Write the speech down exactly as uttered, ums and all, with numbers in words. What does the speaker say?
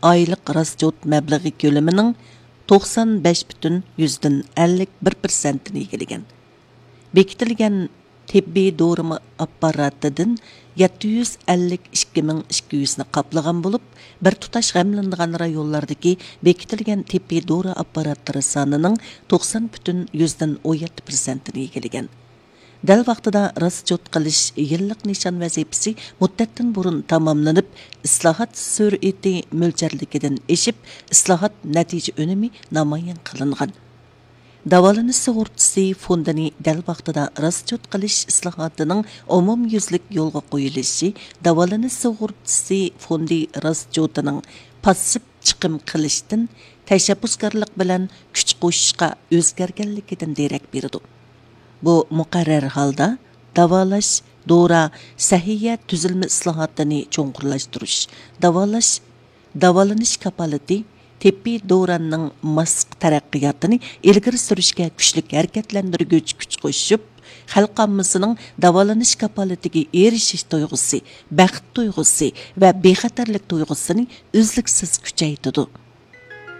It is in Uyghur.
ئايلىق راسچوت مەبلىغى كۆلىمىنىڭ توقسان بەش پۈتۈن يۈزدىن ئەللىك بىر پىرسەنتىنى ئىگىلىگەن. بېكىتىلگەن تېببىي دورىما ئاپپاراتىدىن يەتتە يۈز ئەللىك ئىككى مىڭ ئىككى يۈزنى قاپلىغان بولۇپ، بىر تۇتاش غەملىنىدىغان رايونلاردىكى بېكىتىلگەن تېببىي دورا ئاپپاراتلىرى سانىنىڭ توقسان پۈتۈن يۈزدىن ئون يەتتە پىرسەنتىنى ئىگىلىگەن. دەل ۋاقتىدا راسچوت قىلىش يىللىق نىشان ۋەزىپىسى مۇددەتتىن بۇرۇن تاماملىنىپ، ئىسلاھات سۈرئىتى مۆلچەرلىكىدىن ئېشىپ، ئىسلاھات نەتىجە ئۈنۈمى نامايان قىلىنغان. داۋالىنىش سۇغۇرتىسى فوندىنى دەل ۋاقتىدا راسچوت قىلىش ئىسلاھاتىنىڭ ئومۇميۈزلۈك يولغا قويۇلۇشى داۋالىنىش سۇغۇرتىسى فوندى راسچوتىنىڭ پاسسىپ چىقىم قىلىشتىن تەشەببۇسكارلىق بىلەن كۈچ قوشۇشقا ئۆزگەرگەنلىكىدىن دېرەك بېرىدۇ. بۇ مۇقەررەر ھالدا داۋالاش، دورا، سەھىيە تۈزۈلمە ئىسلاھاتىنى چوڭقۇرلاشتۇرۇش، داۋالاش، داۋالىنىش كاپالىتى، تېببىي دوراننىڭ ماس تەرەققىياتىنى ئىلگىرى سۈرۈشكە كۈچلۈك ھەرىكەتلەندۈرگۈچ كۈچ قوشۇپ، خەلق ئاممىسىنىڭ داۋالىنىش كاپالىتىگە ئېرىشىش تۇيغۇسى، بەخت تۇيغۇسى ۋە بىخەتەرلىك تۇيغۇسىنى ئۈزلۈكسىز كۈچەيتىدۇ.